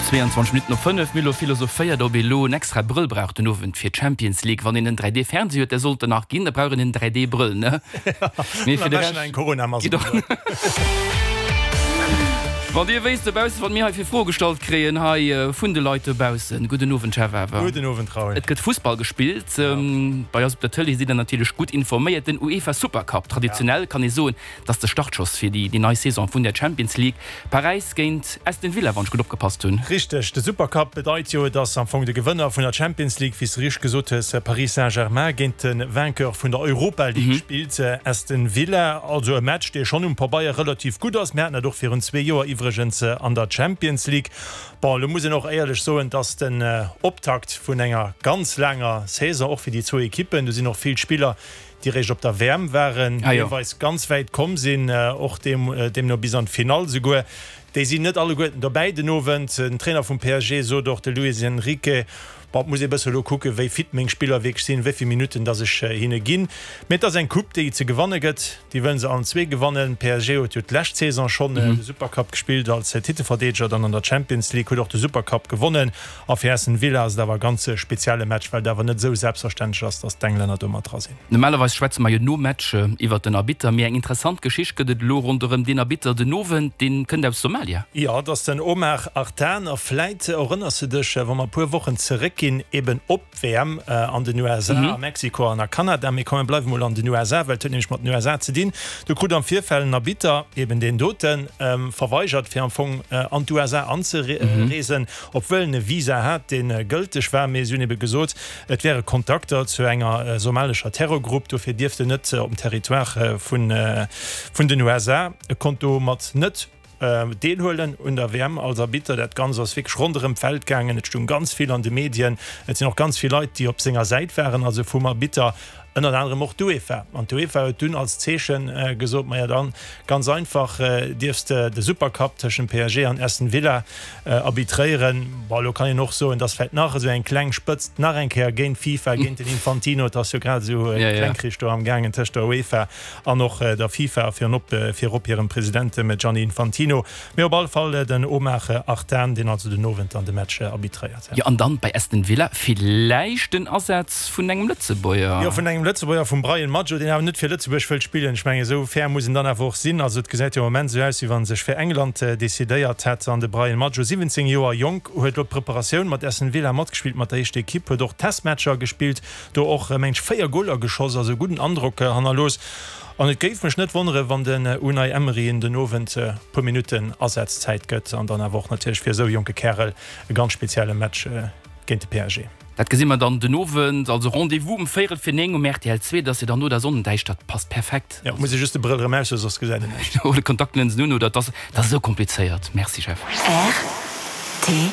22 Minutten op 5, Milo philosophéiert, ob ee lo en extra Brëll brauch den Owend fir d'Champions League. Wann een en 3D Fernseh huet, där sollt en nach ginn, da brauch een en 3D Brëll, ne? Mee fir de Rescht geet och. Wann Dir wéisst dobaussen, wat mir hei fir Froe gestallt kréien hei vun de Leit dobaussen. Gudden Owend, Jeff awer. Gudden Owend, Raoul. Et gëtt Fussball gespillt. Bei eis op der Tëlee sidd Der natierlech gutt informéiert. Den UEFA Supercup, traditionell kann ee soen, Et ass de Startschoss fir déi nei Saison vun der Champions League. Paräis géint Aston Villa, wann ech gutt opgepasst hunn. Richteg, de Supercup bedeit jo, dass am Fong de Gewënner vun der Champions League, wéi s de richteg gesot hues, Paris Saint-Germain, géint de Vainqueur vun der Europa League spillt, Aston Villa. Also e Match, dee schonn um Pabeier relativ gutt ass. Mir haten dat och virun zwee Joer iwwregens an der Champions League. Bon, elo muss een och éierlech soen, dass den Optakt vun enger ganz laanger Saison och fir déi zwou Ekippen, do sinn och vill Spiller, déi réischt op der WM waren, deelweis ganz wäit komm sinn, och deemno bis an d'Finall souguer. Déi sinn net alleguerten dobäi den Owend. Den Trainer vum PSG sot och, de Luis Enrique, Bon, et muss ee bësse elo kucken, wéi fit meng Spiller wierklech sinn, wéi vill Minutten datt ech hinne ginn. Mee et ass eng Coupe, déi ze gewanne gëtt. Déi wëlle se allen zwee gewannen. PSG huet jo d'lescht Saison schonn de Supercup gespillt als Titelverdeedeger, dann an der Champions League, huet och de Supercup gewonnen. A fir Aston Villa ass et awer e ganz spezielle Match, well et awer net esou selbstverständlech ass, datt d'Englänner do mat dra sinn. Normalerweis schwätze mer jo nom Match iwwert den Arbitter, mee eng interessant Geschicht gëtt et elo ronderëm deen Arbitter den Owend, deen kënnt aus Somalia. Jo, et ass den Omar Artan a vläit erënners de dech, wa mer e puer Wochen zeréckginn, eben op d'WM an den USA, a Mexiko an a Kanada. Mee komm, mir bleiwe mol an den USA, well et huet nämlech mat den USA ze dinn. Do krut am Virfeld en Arbitter, eben deen doten, verweigert, fir am Fong an d'USA anzereesen, obwuel en e Visa hat, dee gëlteg war. Mee si hunn ebe gesot, Et wäre Kontakter zu enger somalescher Terrorgrupp, dofir dierft en net op dem Territoire vun den USA. E konnt domat net deelhuelen un der WM als Arbitter. Dat Ganzt ass wierklech ronderëm d'Welt gaangen. Et stoung ganz vill an de Medien. Et sinn och ganz vill Leit, déi op senger Säit waren, also vum Arbitter. Ënnert anerem och d'UEFA. An d'UEFA huet dunn als Zeeche gesot, Maja dann, ganz einfach, dierfs de de Supercup tëschent PSG an Aston Villa arbitréieren. Bon, elo kann een och soen, dass vläicht nach esou eng kleng Spëtzt nach eng Kéier géint d'FIFA, géint den Infantino, et ass jo grad esou e Klengkrich do am gaangen tëscht der UEFA an och der FIFA, virop virop hirem President, dem Gianni Infantino. Mee op alle Fall den Omar Artan, deen also den Owend dann de Match arbitréiert. Jo, an dann bei Aston Villa villäicht den Asaz vun engem Lëtzebuerger. Jo, vun engem Lëtzebuerger, vum Bryan Maggio, deen awer net fir Lëtzebuerg wëllt spillen. Ech mengen, esou fair muss en dann awer och sinn. Also et gesäit jo am Moment esou aus, wéi wann en sech fir England decidéiert hätt. An de Bryan Maggio, 17 Joer jonk, huet elo d'Preparatioun mat Aston Villa matgespillt, mat der éischter Ekipp, huet och Testmatcher gespillt, do och, meng ech, 4 Goler geschoss, also e gudden Androck hannerlooss. An et géif mech net wonneren, wann den Unai Emery en den Owend e puer Minutten Asazzäit gëtt an dann awer och natierlech fir esou e jonke Kärel e ganz spezielle Match géint de PSG. Dat gesi mer dann den Owend, also Rendez-vous um véierel fir 9 um rtl 2, dat ass jo dann no der Sonnendäischtert, passt perfekt. Jo, muss ee just de Brëll erëm aushuelen, soss gesäit een näischt. Oder Kontaktlinsen un, oder, et ass esou komplizéiert. Merci Jeff. Rtl.